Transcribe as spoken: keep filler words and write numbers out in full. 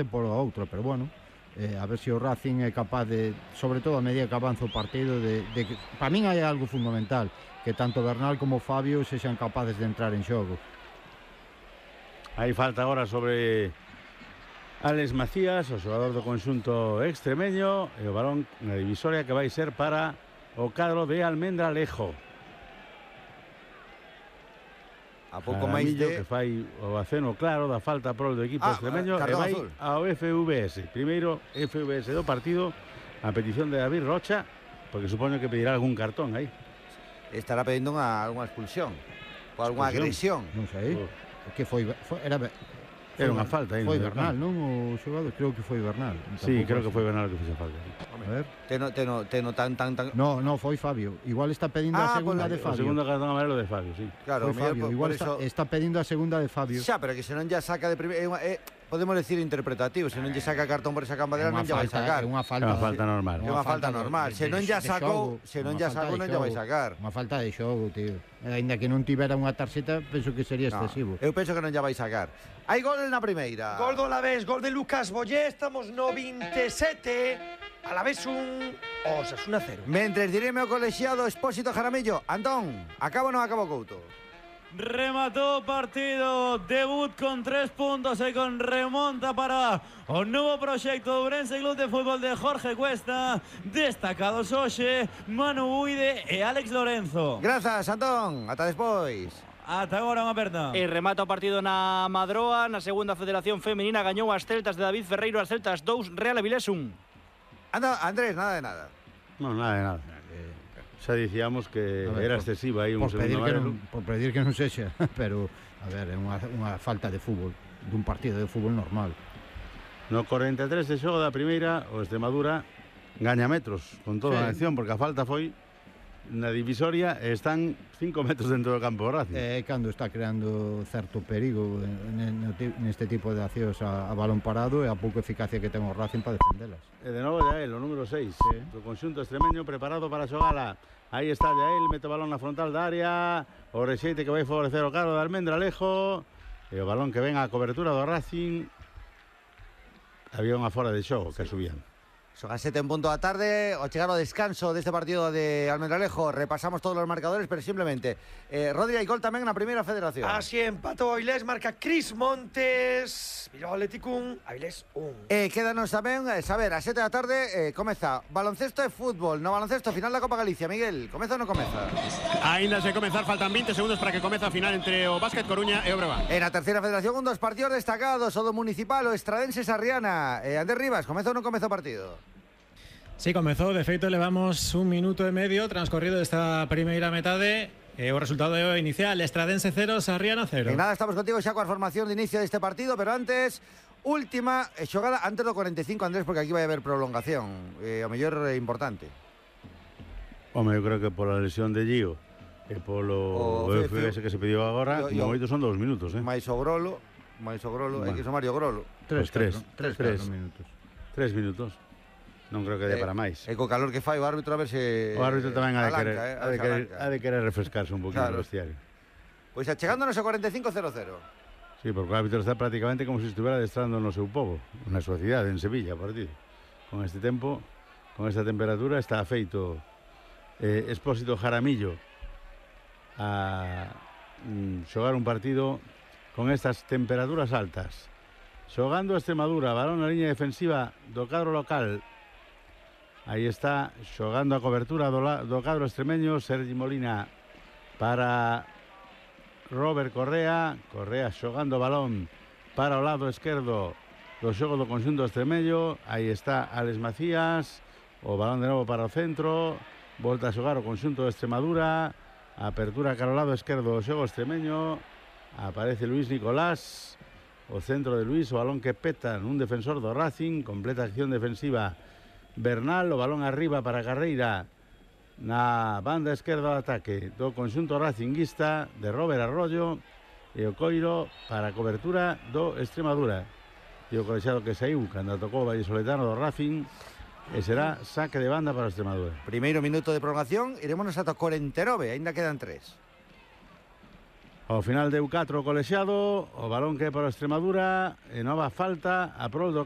polo outro, pero bueno, eh, a ver se o Racing é capaz de, sobre todo a medida que avanza o partido, de, de que, para min hai algo fundamental, que tanto Bernal como Fabio sexan capaces de entrar en xogo. Hai falta agora sobre Alex Macías, o xogador do conxunto extremeño, e o balón na divisoria que vai ser para o cadro de Almendralejo. A pouco máis de... que fai o aceno claro da falta pro do equipo ah, extremeño e vai azul ao F V S. Primeiro F V S do partido, a petición de David Rocha, porque supoño que pedirá algún cartón aí. Estará pedindo unha, alguna expulsión ou alguna agresión. Non sei. Oh. Que foi, foi era Era unha falta aí. Foi Bernal, non? O xogador, creo que foi Bernal. Sí, creo que foi Bernal que fixo falta. A ver. Teno, teno, teno tan, tan, tan... No, no, foi Fabio. Igual está pedindo ah, a segunda pues, de Fabio. O segundo cartón amarelo de Fabio, sí. Claro, foi Fabio. Por, igual por está, eso... está pedindo a segunda de Fabio. Xa, pero que se non ya saca de primeira... Eh, eh, podemos decir interpretativo. Se non lle saca cartón por esa campadera, non lle vai sacar. É unha falta, é unha falta normal. É unha falta normal. Se non ya sacou, se non ya sacou, non lle vai sacar. Unha falta de xogo, tío. Ainda que non tivera unha tarxeta, penso que sería excesivo. Eu penso que non lle vai sacar. Hai gol na primeira. Gol do Alavés, gol de Lucas Boyé. Estamos no veintisiete. Alavés un, Osasuna cero. Mentres direme o colexiado Expósito Jaramillo. Antón, acabo ou non acabo Couto? Remató partido, debut con tres puntos y con remonta para un nuevo proyecto de Ourense Club de Fútbol de Jorge Cuesta, destacados hoxe Manu Uide e Alex Lorenzo. Grazas, Antón, ata despois. Ata agora unha aperta. E remata o partido na Madroa, na segunda Federación Femenina, gañou as Celtas de David Ferreiro, as Celtas dous, Real Avilés un. Anda, Andrés, nada de nada. No, nada de nada. Xa dicíamos que ver, era excesiva aí un por pedir segundo que non, por pedir que non sexa, pero a ver, é unha, unha falta de fútbol, dun partido de fútbol normal. No cuarenta e tres de xogo da primeira, o Extremadura gaña metros con toda sí. a acción, porque a falta foi na divisoria e están cinco metros dentro do campo Racing. É eh, cando está creando certo perigo neste tipo de accións a, a balón parado e a pouca eficacia que ten o Racing para defendelas. E de novo Yael, o número seis, sí. do conxunto extremeño preparado para xogala. Aí está Yael, mete o balón na frontal da área, o rexeite que vai favorecer o carro de Almendralejo, e o balón que ven á cobertura do Racing. Había unha fora de xogo que subían. Son as sete en punto da tarde, ao chegar ao descanso deste partido de Almendralejo, repasamos todos os marcadores, pero simplemente eh, Rodri hai gol tamén na primeira federación. Así empatou Avilés, marca Cris Montes, Bilbao Athletic un, Avilés un. Eh, quédanos tamén, eh, saber, a sete da tarde eh, comeza baloncesto e fútbol, no baloncesto final da Copa Galicia. Miguel, comeza ou non comeza? Ainda se comezar, faltan veinte segundos para que comece a final entre o Básquet Coruña e o Breogán. En a terceira federación, un dos partidos destacados, o do Municipal, o Estradense Sarriana. Eh, Andrés Rivas, comeza ou non comeza o partido? Sí, comezou, de feito levamos un minuto e medio transcorrido desta primeira metade e o resultado inicial, Estradense cero, Sarriana cero. En nada, estamos contigo xa coa formación de inicio deste partido, pero antes, última xogada antes do cuarenta e cinco, Andrés, porque aquí vai haber prolongación, eh, o mellor é importante. Home, eu creo que pola lesión de Gio e polo o F S que se pediu agora, como moito son dous minutos, eh? Mais o Grolo, mais o Grolo, hai que sumar o Grolo. Tres, tres, tres, tres, tres minutos. Tres minutos. Non creo que dé para máis. E co calor que fai o árbitro a ver se... O árbitro tamén ha de querer, eh, ha de querer, ha de querer refrescarse un poquito claro. no vestiario. Pois pues, achegándonos a cuarenta e cinco cero cero. Sí, porque o árbitro está prácticamente como se si estuviera adestrando no seu povo, na súa cidade, en Sevilla, por ti. Con este tempo, con esta temperatura, está feito eh, Expósito Jaramillo a mm, xogar un partido con estas temperaturas altas. Xogando a Extremadura, balón na liña defensiva do cadro local. Aí está, xogando a cobertura do, do cadro extremeño, Sergi Molina para Robert Correa. Correa xogando balón para o lado esquerdo do xogo do conxunto extremeño. Aí está Alex Macías, o balón de novo para o centro, volta a xogar o conxunto de Extremadura, apertura cara ao lado esquerdo do xogo extremeño, aparece Luis Nicolás, o centro de Luis, o balón que peta nun defensor do Racing, completa acción defensiva Bernal, o balón arriba para Carreira na banda esquerda do ataque do conxunto racinguista de Robert Arroyo, e o coiro para a cobertura do Extremadura. E o colexiado que saiu cando tocou o vallisoletano do Racing, e será saque de banda para o Extremadura. Primeiro minuto de prolongación, irémonos ata cuarenta e nove, ainda quedan tres. Ao final deu catro o colexiado, o balón que é para o Extremadura, e nova falta a prol do